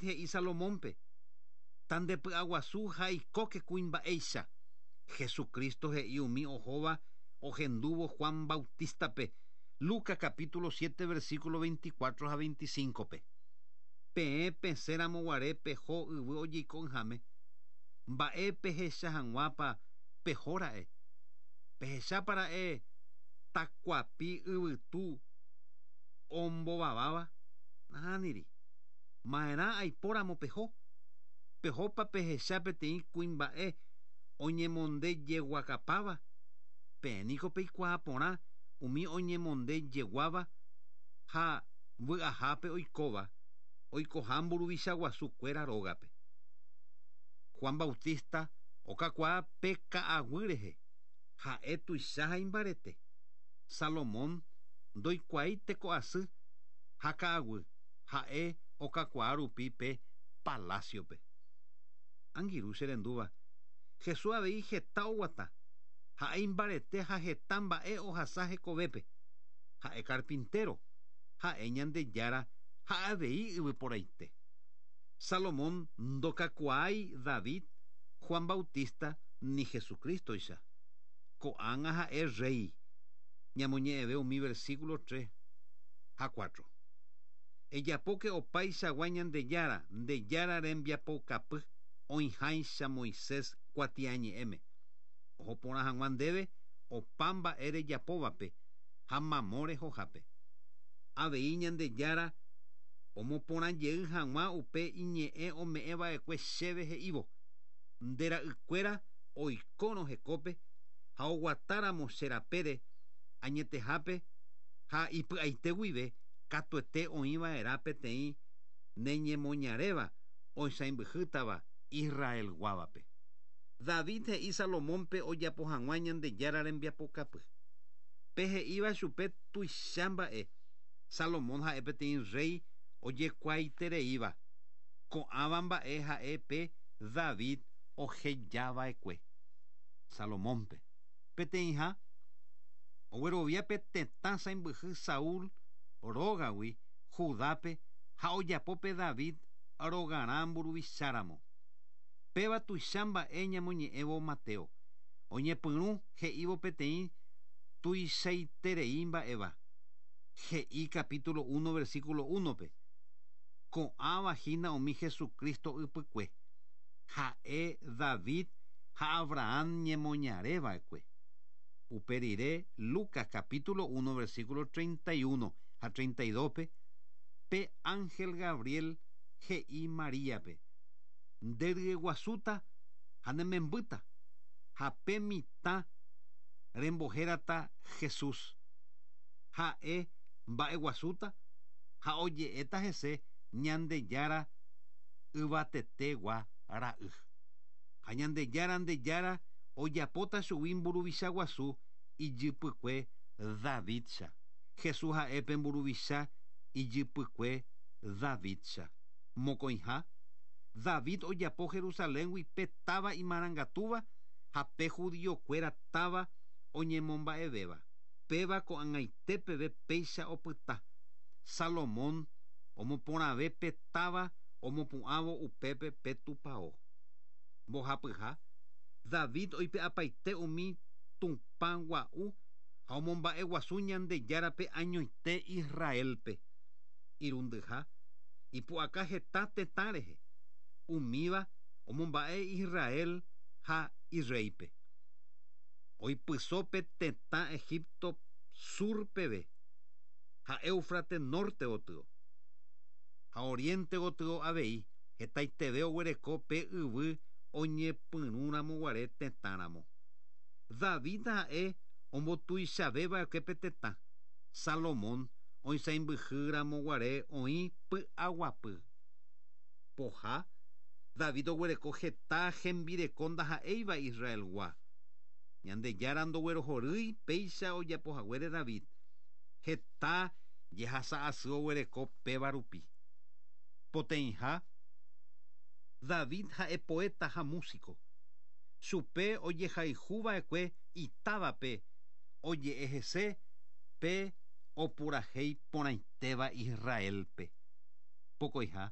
He'i Salomónpe, Tandepy'aguasu ha eikóke kuimba'éicha. Jesucristo he'i umi ohóva ohendúvo Juan Bautistape, Lucas capítulo 7 versículo 24 ha 25-pe. Peẽ pesẽramo guare peho yvy ojeiko'ỹháme, mba'e pehecha hag̃uápa pehóra'e? Pehechápa ra'e takuapi yvytu ombovaváva? Nahániri. Ma'erã aipóramo peho? Pehópa pehecha peteĩ kuimba'e oñemonde jeguakapáva? Peẽ niko peikuaa porã umi oñemonde jeguáva ha vy'ahápe oikóva, oikoha mburuvicha guasu kuéra rógape. Juan Bautista okakuaa pe ka'aguy rehe, ha'e tuicha ha imbarete. Salomón ndoikuaái teko asy ha ka'aguy, ha'e okakuaa rupi pe palásiope. Angirũ che rendúva, Jesús avei heta oguata, ha'e imbarete ha heta mba'e ohasa hekovépe. Ha'e carpintero, ha'e Ñandejára ha avei yvyporaite. Salomón ndokakuaái David, Juan Bautista ni Jesucrístoicha. Ko'ág̃a ha'e rréi. Ñamoñe'ẽve umi versículo 3 ha 4. Ejapóke opaichagua Ñandejára, nde Jára rembiapoukapy, oĩháicha Moisés kuatiañe'ẽme. Oho porã hag̃ua ndéve opa mba'e rejapóvape ha mamo rehohápe. Avei Ñandejára omoporã jey hag̃ua upe iñe'ẽ ome'ẽ va'ekue chéve he'ívo, Nde ra'ykuéra oikórõ hekópe ha oguatáramo che rapére añetehápe ha ipy'aite guive katuete oĩ va'erã peteĩ neñemoñaréva oisãimbyhýtava Israelguávape. David he'i Salomónpe ojapo hag̃ua Ñandejára rembiapokapy. Pe he'íva chupe tuicha mba'e. Salomón ha'e peteĩ rréi ojekuaaitereíva. Ko'ãva mba'e ha'e pe David ohejava'ekue Salomónpe. Peteĩha, oguerovia pe tetã sãimbyhy Saúl rógagui Judápe ha ojapo pe David rogarã mburuvicháramo. Péva tuicha mba'e ñamoñe'ẽvo Mateo. Oñepyrũ he'ívo peteĩ tuichaiterei mba'éva. He'i capítulo 1 versículo 1-pe, Ko'ãva hína umi Jesucristo ypykue, ha'e David ha Abraham ñemoñare va'ekue. Upe rire, Lucas capítulo 1 versículo 31 ha 32-pe, pe ánhel Gabriel he'i Maríape, Nde ryeguasúta ha ne membýta, ha pe mitã rembohérata Jesús. Ha'e mba'eguasúta ha oje'éta hese Ñandejára Yvatetegua Ra'y. Ha Ñandejára nde Jára ojapóta chugui mburuvicha guasu ijypykue Davídcha. Jesús ha'e pe mburuvicha ijypykue Davídcha. Mokõiha, David ojapo Jerusaléngui pe táva imarangatúva ha pe judiokuéra táva oñemomba'evéva. Péva ko'ag̃aite peve péicha opyta. Salomón omoporãve pe táva omopu'ãvo upépe pe tupao. Mbohapyha, David oipe'apaite umi tupã gua'u ha omomba'eguasu Ñandejárape añoite Israélpe. Irundyha, ipu'aka heta tetã rehe, umíva omomba'e Israel ha irréipe. Oipyso pe tetã Egipto sur peve ha Éufrates norte gotyo, ha oriente gotyo avei. Hetaiteve oguereko pe yvy oñepyrũramo guare tetãramo. David ha'e ombotuichaveva'ekue pe tetã, Salomón oisãimbyhýramo guare oĩ py'aguapy. Poha, David oguereko heta hembireko ndaha'éiva Israelgua. Ñandejára ndoguerohorýi péicha ojapohaguére David, heta jehasa asy oguereko péva rupi. Poteĩha, David ha'e poeta ha músiko. Chupe ojehayhuva'ekue itávape oje'e hese pe opurahéi porãitéva Israélpe. Pokõiha.